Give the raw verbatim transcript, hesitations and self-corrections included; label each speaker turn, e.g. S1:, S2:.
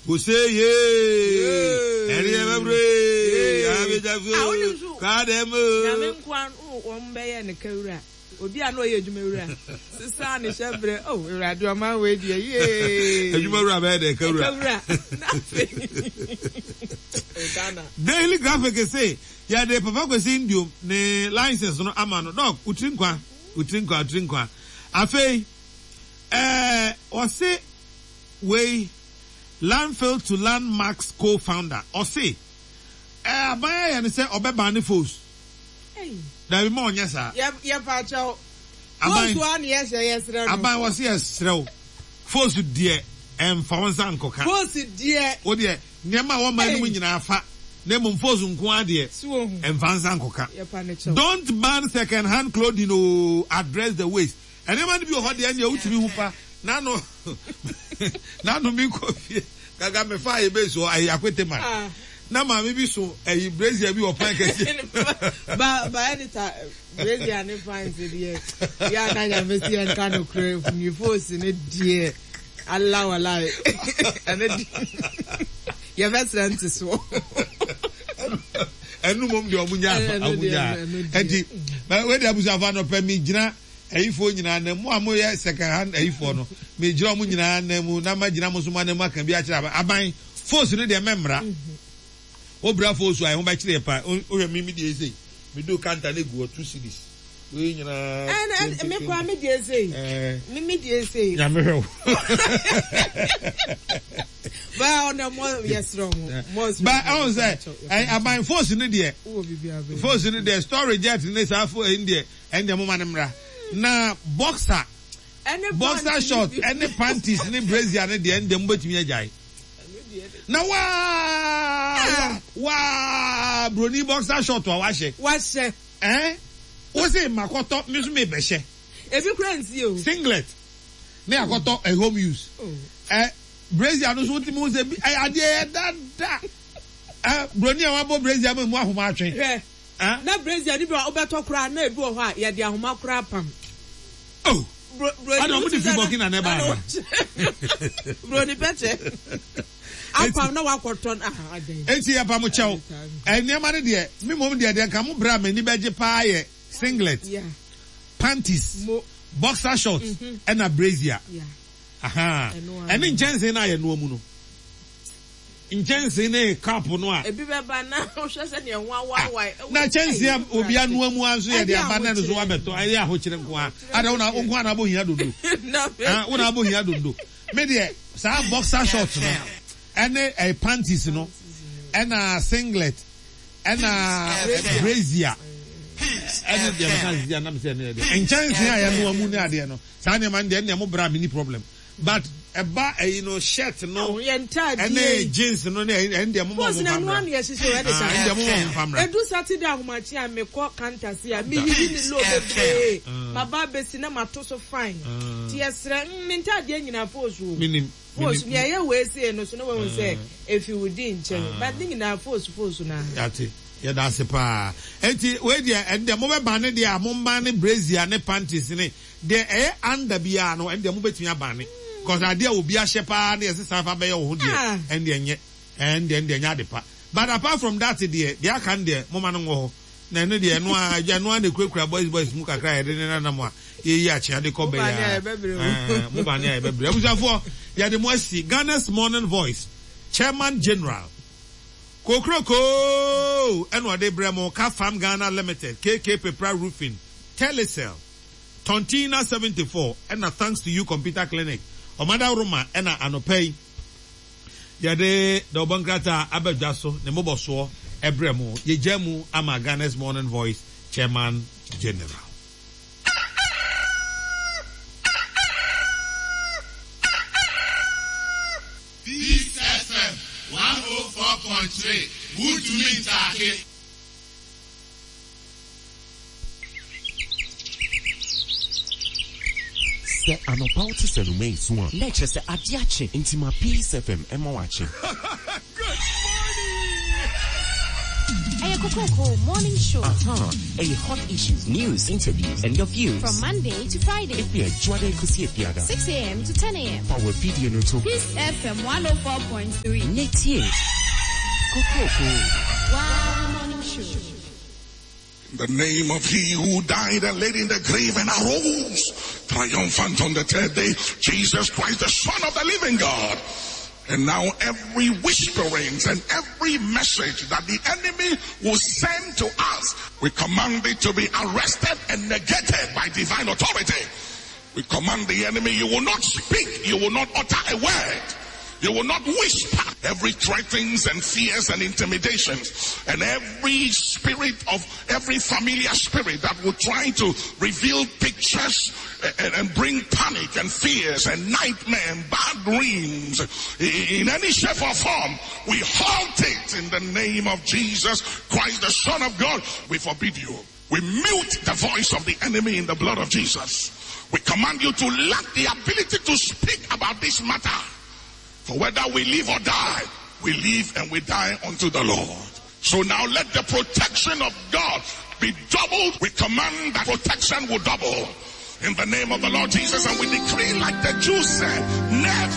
S1: Ose yee ɛne ɛbɛbrɛ abɛgyafo kadɛm.
S2: Nyame nkoa wɔn bɛyɛ ne kawura obi a na ɔyɛ adwuma wura sisan ne hyɛ brɛ oh Awurade ɔman wei deɛ yee
S1: adwuma wura bɛyɛ dɛ kawura
S2: kawura n'afɛ Ghana.
S1: Daily Graphic sɛ yɛde Papa Kwesi Nduom ne license no ama no dɔk wotiri nkwa wotiri nkwa wotiri nkwa afei ɛɛ ɔse wei Landfill to Landmarks co-founder ɔse ɛɛ aban ayɛ no sɛ ɔbɛban ne fos dabi ma ɔnyɛ saa.
S2: Yɛ yɛ pa kyɛw. Aban fos wa ne yɛhyɛ yɛsrɛ no.
S1: Aban wɔ se yɛsrɛ wo fos deɛ ɛnfa wo nsa nkɔka.
S2: Fos deɛ.
S1: Wo deɛ nneɛma a wɔn man no mu nyinaa fa na mmom fos nko ara deɛ ɛnfa nsa nkɔka. Don't ban second hand clothing o, address the waste. Nneɛma no bi wɔ hɔ deɛ ɛnneɛ wotumi hu pa n'ano n'ano mi kɔ fie gaga me fa ayɛ base hɔ ayi akwete man na maame bi so ayi brazier bi wɔ pan kɛseɛ.
S2: Ba ba editor brazier ne pan se deɛ yɛ ana nyame si yɛn ka no korɛ ni force ne deɛ ala wala ɛne de yɛbɛsrɛ nte soɔ.
S1: Ɛnu mom deɛ ɔmo nya ɔmo nya ɛnti wei de abusuafo anɔpɛ mi gyina ayifoɔ nyinaa nan mu a moyɛ second hand ayifoɔ no megyina ɔmo nyinaa nan mu na magyina mo nso mo anan mu aka bi akyerɛ aban aban force no deɛ mɛmmra wobra force a ɛho bɛkyerɛ yɛ paa wohwɛ me me deɛ sei medu kanta no egu hɔ two cedis wei nyinaa
S2: ɛn me kora me deɛ sei me me deɛ sei
S1: Nyame hwɛ wo.
S2: Ba ɔna mo yɛsrɛ mo mo
S1: ba ɛwɔ sɛ aban force no deɛ force no deɛ storage jet ne saa fo ɛn deɛ ɛn deɛ mo ma ne mmra na boxer boxer short ɛne panties ne brazier ne deɛ ɛn deɛ mo bɛtumi agyae na waa waa broni boxer short a wahyɛ
S2: wahyɛ
S1: ɛn wosi makɔtɔ mi nso mi bɛhyɛ
S2: ebi kura nsi o
S1: singlet ne akɔtɔ a home use ɛ brazier no so wotumi ho sɛ bi ɛ adeɛ yɛ dada ɛ broni a wabɔ brazier mu emu ahoma atwe.
S2: Hwɛ na brazier ni bi a wobɛtɔ koraa na ebi wɔ hɔ a yɛde ahoma koraa pam.
S1: Oh adi ɔmo de fi Burkina na ɛba ana.
S2: Broni pɛkyɛ apam na wakɔtɔ na adan.
S1: Eti yɛ pam kyɛw nneɛma no deɛ mi mom deɛ deɛ nka mo bra m'ani bɛgye paa yɛ singlet, panties, boxer shorts ɛna brazier. Aha ɛne nkyɛnsee no a yɛnoa mu no. Nkyɛnsee ne cup no a.
S2: Ebi bɛba na wohwɛ sɛ nea ho awaawae.
S1: Na kyɛnsee a obi anoa mu ara nso yɛde aba na ɛno nso wabɛtɔ ɛyɛ ahokyere nko ara. Ada wo na wo nko ara na abɔ hia dodo. Ah wo na abɔ hia dodo. Me deɛ saa boxer shorts no ɛne ɛyɛ panties no ɛna singlet ɛna brazier ɛne deɛ meka sisi anam sɛ ɛne ɛdeɛ nkyɛnsee a yɛnoa mu ne adeɛ no saa nneɛma no deɛ ɛnna mo bra me ni problem. But ɛba ɛyi no shirt no ɛne jeans no ne ɛne deɛ mo ma ɔmo nfa mra ɛne deɛ mo ma ɔmo nfa mra.
S2: Edu Saturday ahomakye a mekɔ kantase a meyiyi ne low bebree maba abesi na mato so fine ti yɛsrɛ mm me ntaadeɛ nyinaa fos o
S1: Minim
S2: fos nea ɛyɛ wei sei no so na wahu sɛ efi wo di nkyɛn but ne nyinaa fos fos na.
S1: Yate yɛda ase paa eti wei deɛ ɛne deɛ mo bɛ ban ne deɛ a mo ban ne brazier ne panties ne deɛ ɛyɛ under biara no ɛne deɛ mo bɛtumi abane cause adeɛ a obi ahyɛ paa ne yɛsɛ san fa bɛyɛ wo ho deɛ ɛne deɛ nyɛ ɛne deɛ ɛne deɛ nyɛ ade pa but apart from that deɛ deɛ aka no deɛ mo ma no nwɔ hɔ na ɛno deɛ ɛno a ɛno a na ekurakura boys boys mu kakra a yɛde ne nanam a yɛyi akyea de kɔ bɛyɛ a mo ba ne a yɛbɛbrɛ abusuafoɔ yɛde mo asi Ghana's Morning Voice Chairman General Kokroko ɛna ɔde brɛ mo Ka Farm Ghana Limited K K Pepra Roofing Telecel Tontina seventy four ɛna Thanks to You Computer Clinic Ɔmada Roma ɛna anɔpa yi yɛde dɔbɔ nkrataa aba dwa so ne mmobɔsoɔ ɛbrɛ mo yɛgya mu ama Ghana's Morning Voice Chairman General.
S3: Peace F M one oh four point three Wuntumi ntaake.
S4: Sɛ anɔpa wote sɛ noma esu a na ɛkyerɛ sɛ ade akye nti ma Peace F M ɛma wakye.
S3: Good morning!
S5: Ɛyɛ Kokroko Morning Show.
S4: Aha, ɛyɛ hot issues, news, interviews, and your views.
S5: From Monday to Friday.
S4: Efi Ɛdwoada ekosi Efiada.
S5: six a m to ten a m.
S4: Fa wɔ video no to.
S6: Peace F M one oh four point three.
S4: Ne tie. Kokroko.
S5: Wow, Morning Show.
S7: In the name of he who died and laid in the grave and arose triumphant on the third day, Jesus Christ, the Son of the living God. And now every whisperings and every message that the enemy will send to us, we command it to be arrested and negated by divine authority. We command the enemy, you will not speak, you will not utter a word. You will not whisper. Every threatenings and fears and intimidations and every spirit of every familiar spirit that will try to reveal pictures and, and bring panic and fears and nightmare and bad dreams in any shape or form, we halt it in the name of Jesus Christ, the Son of God. We forbid you. We mute the voice of the enemy in the blood of Jesus. We command you to lack the ability to speak about this matter. For whether we live or die, we live and we die unto the Lord. So now let the protection of God be doubled. We command that protection will double. In the name of the Lord Jesus, and we decree, like the Jews said, never